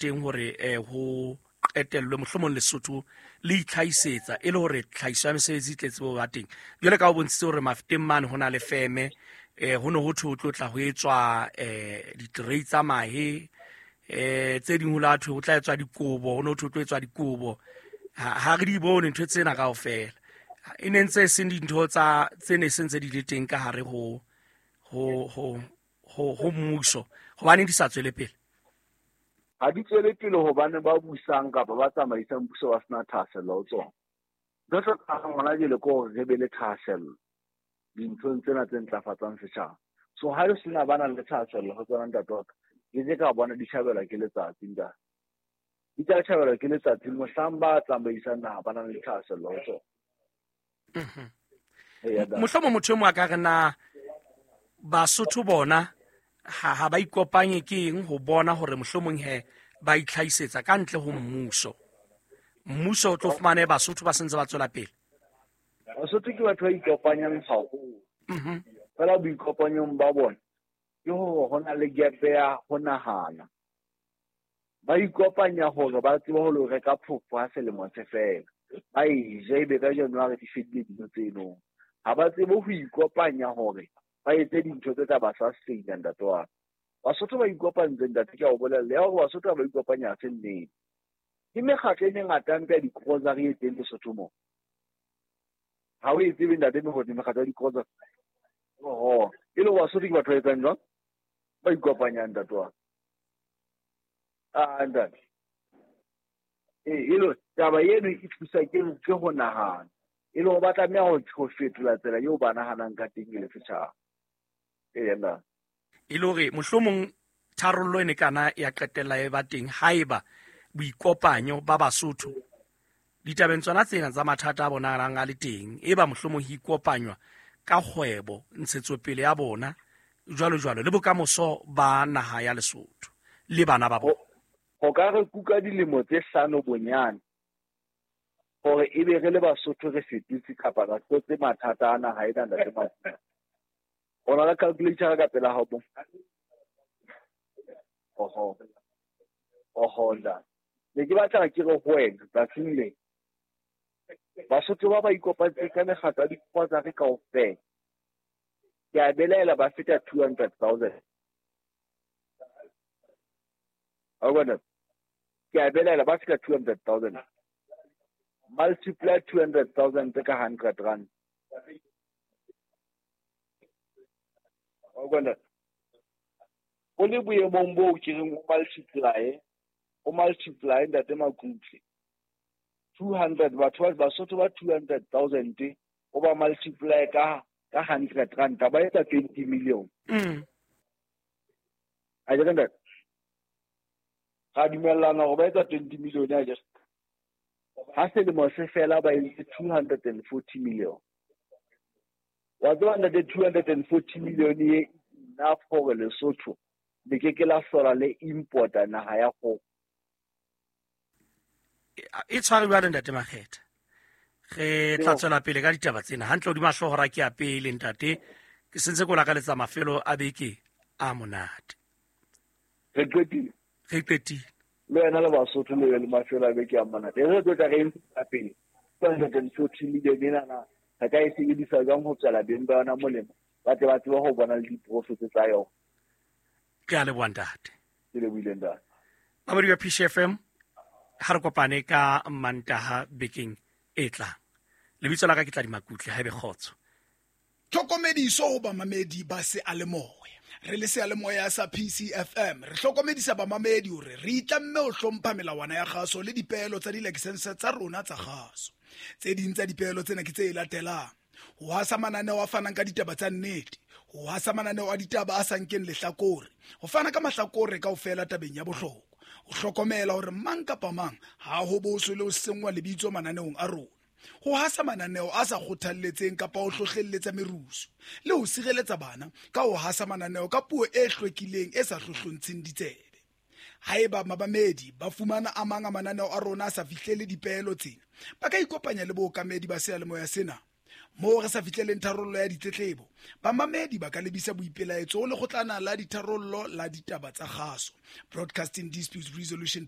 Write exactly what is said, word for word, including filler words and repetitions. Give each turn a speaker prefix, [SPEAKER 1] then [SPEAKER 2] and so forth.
[SPEAKER 1] Teng hore eh, ho qetellwe mohlomong Lesotho le itlhahisetsa e le hore tlhahiso ya mesebetsi e tletse bo ba teng. Jwale ka o bontshitse hore Mafeteng mane ho na le feme, eh, ho ne ho thwe ho tlo tla ho etswa eh, di-tray tsa mahe, eh, tse ding ho la thwe ho tla etswa dikobo, ho ne ho thwe ho tlo etswa dikobo. Ha, ha re di bone ntho tsena kaofela. E ne ntse e seng dintho tsa tse ne se ntse di le teng ka hare ho ho ho ho ho mmuso. Hobaneng di sa tswele pele?
[SPEAKER 2] Ha di tswele pele hobane ba busang kapa ba tsamaisang puso ba sena thahasello ho tsona. Ntho e hlokahalang hona jwale ke hore re be le thahasello dinthong tsena tse ntlafatsang setjhaba. So ha e sena ba nang le thahasello ho tsona ntate wa ka, ke ke ka bona di tjhabelwa ke letsatsi ntate. Di tla tjhabelwa ke letsatsi mohlang ba tsamaisang naha ba nang le thahasello ho tsona.
[SPEAKER 1] Mhm.
[SPEAKER 2] Eya, ntate.
[SPEAKER 1] Mohlomong motho e mong a ka re na Basotho bona ha ha ba ikopanye ke eng ho bona hore mohlomong he ba itlhahisetsa ka ntle ho mmuso. Mmuso o tlo fumane Basotho ba sentse ba tswela pele.
[SPEAKER 2] Basotho ke batho ba ikopanyang haholo.
[SPEAKER 1] Mhm.
[SPEAKER 2] Feela boikopanyong ba bona ke hore ho na le gap ya ho nahana. Ba ikopanya hore ba tsebe ho lo reka phofo ha selemo se fela. Ba e je ebe ka January di fedile dintho tseno. Ha ba tsebe ho ikopanya hore ba etse dintho tse tla ba sustain-a ntate wa ka. Basotho ba ikopantse ntate, ke a o bolella. Ya hore Basotho ha ba ikopanya ha se nnete. Ke mekgatlo e mengata mpe ya di-grocery e teng Lesotho moo. Ha o e tsebe ntate Mokgotsi mekgatlo ya di-grocery. Oho, e le hore Basotho ke batho ba etsang jwang? Ba ikopanyang ntate wa ka. Ah, ntate. Ee, e le taba eno e thusa ke ke ho nahana. E le hore ba tlameha ho ho fetola tsela eo ba nahanang ka teng e le setjhaba. Eya, ntate.
[SPEAKER 1] E le hore mohlomong tharollo e ne kana ya qetella e ba teng haeba boikopanyo ba Basotho ditabeng tsona tsena tsa mathata a bonahalang a le teng, e ba mohlomong ho ikopanywa ka kgwebo, ntshetsopele ya bona jwalo jwalo le bokamoso ba naha ya Lesotho le bana ba bona.
[SPEAKER 2] Ho ka re kuka dilemo tse hlano bonyane hore ebe re le Basotho re fetotse kapa re hlotse mathata a naha ena ntate Makutle. O na le calculator ka pela hao mo? Oho. Oho, ntate. Ne ke batla ke re ho wena tsatsing le Basotho ba ba ikopantse ka mekgatlo ya di-grocery kaofela. Ke a belaela ba feta two hundred thousand. Wa bona? Ke a belaela ba feta two hundred thousand. Multiply two hundred thousand ka hundred rand. Wa bona? O le boemong boo ke reng o multiply, o multiply ntate Makutle. two hundred batho ba Basotho ba two hundred thousand o ba multiply ka ka hundred rand ba etsa twenty million.
[SPEAKER 1] Mm.
[SPEAKER 2] A ke ntate? Ra dumellana hore ba etsa twenty million a ke. Ha selemo se fela ba entse two hundred and forty million. Wa tseba ntate two hundred and forty million e enough hore Lesotho le ke ke la hlola le importa naha ya kgoho.
[SPEAKER 1] E tshware jwale ntate Makgetha. Re tla tswela pele ka ditaba tsena. Hantle hodima hlooho ra ke ya pele ntate. Ke sentse ke o lakaletsa mafelo a beke a monate.
[SPEAKER 2] Re qetile.
[SPEAKER 1] Re qetile.
[SPEAKER 2] Le wena le Basotho le le mafelo a beke a monate. Re tlo tla re ntsha pele. two hundred and forty million enana re ka e sebedisa jwang ho tswela beng ba yona molemo? Ba tle ba tsebe ho bona le diprofit tsa yona.
[SPEAKER 1] Ke a leboha ntate.
[SPEAKER 2] Ke lebohile ntate.
[SPEAKER 1] Mamedi wa P C F M, ha re kopane ka Mantaha bekeng e tlang. Lebitso la ka ke Tladi Makutle, ha ebe kgotso.
[SPEAKER 3] Tlhokomediso ho bamamedi ba seyalemoya. Re le seyalemoya sa P C F M, re hlokomedisa bamamedi hore re itlamme ho hlompha melawana ya kgaso le dipeelo tsa dilakesense tsa rona tsa kgaso. Tse ding tsa dipeelo tsena ke tse latelang: ho hasa mananeo a fanang ka ditaba tsa nnete, ho hasa mananeo a ditaba a sa nkeng lehlakore, ho fana ka mahlakore kaofela tabeng ya bohlokwa, ho hlokomela hore mang kapa mang ha ho boswe le ho senngwa lebitso mananeong a rona, ho hasa mananeo a sa kgothalletseng kapa ho hlohlelletsa merusu, le ho sireletsa bana ka ho hasa mananeo ka puo e hlwekileng e sa hlohlontsheng ditsebe. Haeba mabamedi ba fumana a mang a mananeo a rona a sa fihlele dipeelo tsena, ba ka ikopanya le bookamedi ba seyalemoya sena. Moo re sa fihleleng tharollo ya ditletlebo, bamamedi ba ka lebisa boipelaetso ho Lekgotlana la Ditharollo la Ditaba tsa Kgaso, Broadcasting Disputes Resolution.